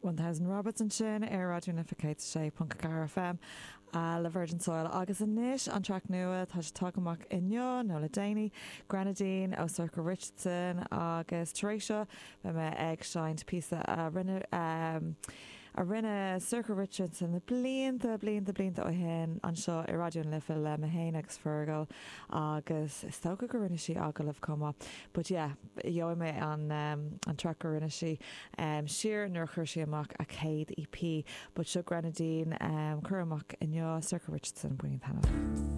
1000 Rabbits ansin ar Raidió na Life 106.4 FM le Virgin Soil agus anois an traic nua, tá sé tagtha amach inniu nó le déanaí, Grenadine ó Sorcha Richardson agus tar éis seo beidh mé ag seinnt píosa a rinne a rinne Sorcha Richardson na blianta, blianta, blianta ó shin anseo i Raidió na Life le mé féin agus Fergal agus is dócha gur rinne sí agallamh chomh maith but yeah gheobhaidh mé an an traic a rinne sí siar nuair a chuir sí amach a céad EP but seo Grenadine curtha amach inniu Sorcha Richardson, bainín taitneamh.